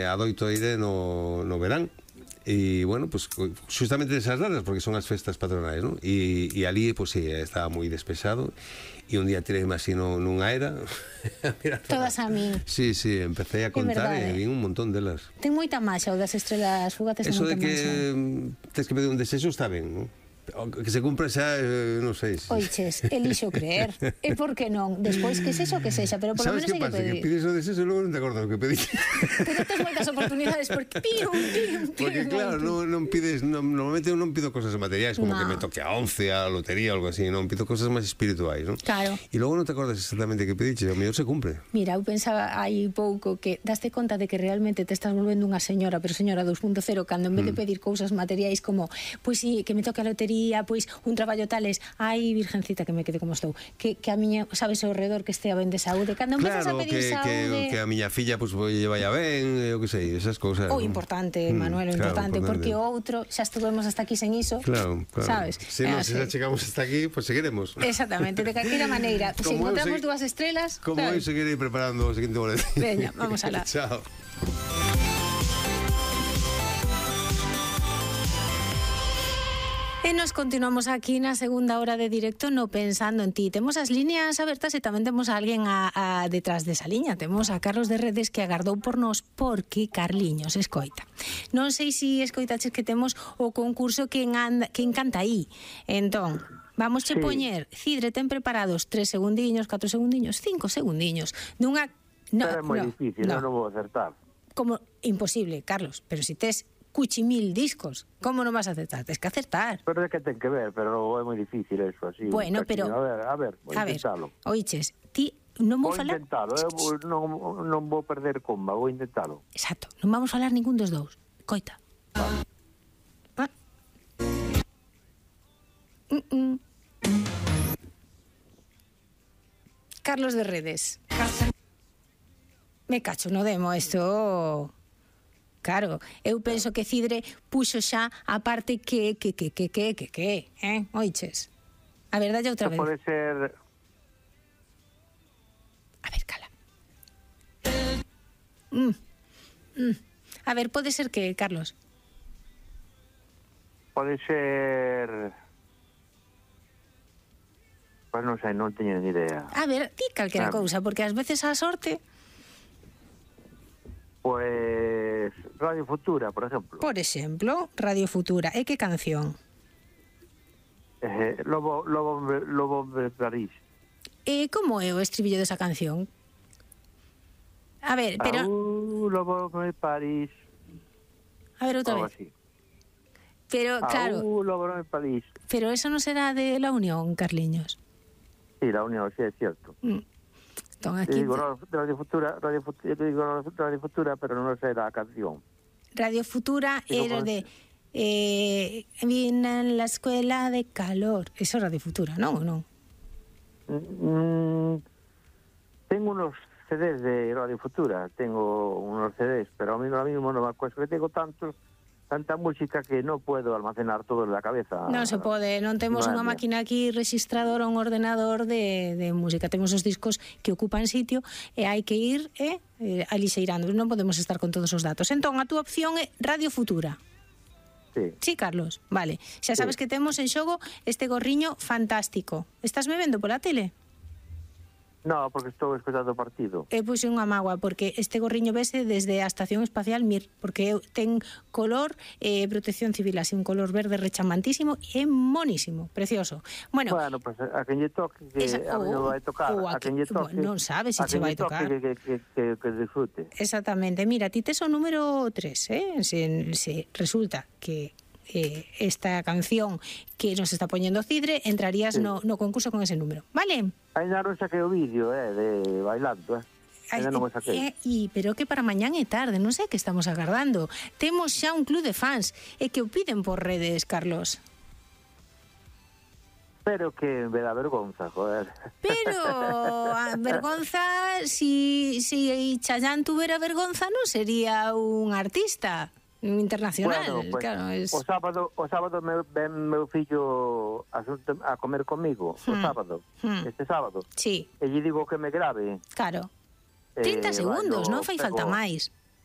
adoito ir no verán. E, bueno, pues justamente esas datas, porque son as festas patronais, ¿no? E ali, pues sí, estaba moi despexado. E un día tirei así nunha era. Todas a min. Sí, empecé a contar e vi un montón delas. Ten moita máxa o das estrelas fugaces. Eso de que tens que pedir un desexo está ben, ¿no? Que se cumpra xa, non sei. Oiches, elixo creer. E por que non? Despois que sexa o que sexa, pero polo menos hai que pedir. Sabes que pasa? Que pides o desexo e logo non te acordas o que pediste. Pero tens moitas oportunidades porque Porque claro, non pides, normalmente eu non pido cosas materiais, como que me toque a 11, a lotería ou algo así, non, pido cosas máis espirituais, non? Claro. E logo non te acordas exactamente que pediche, o mellor se cumpre. Mira, eu pensaba hai pouco que daste conta de que realmente te estás volvendo unha señora, pero señora 2.0, cando en vez de pedir cousas materiais como, pois si, que me toque a lotería, pois un traballo tales, ai, virgencita, que me quede como estou, que a miña, sabes, ao redor que estea ben de saúde, cando empezas a pedir saúde, que a miña filla pois vaya ben, eu que sei, esas cousas. O importante, Manuel, o importante, porque o outro xa estuvemos hasta aquí sen iso. Claro. Sabes? Se non xa chegamos hasta aquí, pois seguiremos. Exactamente, de calquera maneira, se encontramos dúas estrelas, como eu seguirei preparando o seguinte boletín. Veña, vamos alá. Chao. E nos continuamos aquí na segunda hora de directo no Pensando en Ti. Temos as líneas abertas e tamén temos a alguén detrás desa liña. Temos a Carlos de Redes que agardou por nós porque Carliños escoita. Non sei se escoitaches que temos o concurso que encanta aí. Entón, vamos che poñer, Cidre, ten preparados 3 segundiños, 4 segundiños, 5 segundiños dunha... Pero é moi difícil, non vou acertar. Como imposible, Carlos, pero se tes cuchimil discos, como non vas a acertar? Tens que acertar. Pero é que ten que ver, pero é moi difícil eso, así. Bueno, pero... A ver, vou intentalo. Oiches, ti non vou falar... Vou intentalo, non vou perder comba, vou intentalo. Exacto, non vamos falar ningún dos dous. Coita. Carlos de Redes. Me cacho no demo, esto... Claro, eu penso que Cidre puxo xa a parte que, oiches? A verdade outra vez. Pode ser... A ver, cala. A ver, pode ser que, Carlos? Pode ser... Pois non sei, non teño ni idea. A ver, ti calquera cousa, porque ás veces a sorte... Pues Radio Futura, por exemplo. Por exemplo, Radio Futura. E que canción? Lobo de París. E como é o estribillo desa canción? A ver, pero... Lobo de París. A ver, outra vez. Así. Pero, claro... Lobo de París. Pero eso non será de La Unión, Carliños. Sí, La Unión, sí, é cierto. Aquí... Digo Radio Futura, pero non sei da canción. Radio Futura era de vine en la escuela de calor. Eso é Radio Futura, non ou non? Tengo unos CDs de Radio Futura, tengo unos CDs, pero a mí ahora mismo non me acuerdo, que tengo tanta música que non puedo almacenar todo en la cabeza. Non se pode, non temos unha máquina aquí registradora, un ordenador de música. Temos os discos que ocupan sitio e hai que ir alixeirando, non podemos estar con todos os datos. Entón, a túa opción é Radio Futura. Sí, Carlos, vale. Xa sabes que temos en xogo este gorriño fantástico. Estás me vendo pola tele? No, porque estou escoitando o partido. Pois é unha mágoa, porque este gorriño vese desde a Estación Espacial Mir, porque ten color protección civil, así un color verde rechamantísimo e monísimo, precioso. Bueno, pues a quen lle toque, que a mí non vai tocar, a quen lle toque, non sabes se che vai tocar. Que disfrute. Exactamente, mira, ti tes o número 3, se resulta que esta canción que nos está poñendo Cidre, entrarías no concurso con ese número, vale? Ainda non saquei o vídeo de bailando, ainda non o saquei. Pero que para mañán é tarde, non sei que estamos agardando. Temos xa un club de fans e que o piden por redes, Carlos. Pero que me dá vergonza, joder. Pero a vergonza, si Chayanne tuvera vergonza, non sería un artista internacional. Bueno, pues, claro, o sábado ven meu fillo a comer comigo, o sábado, este sábado. Sí. E lle digo que me grave. Claro. 30 segundos, non fai falta máis.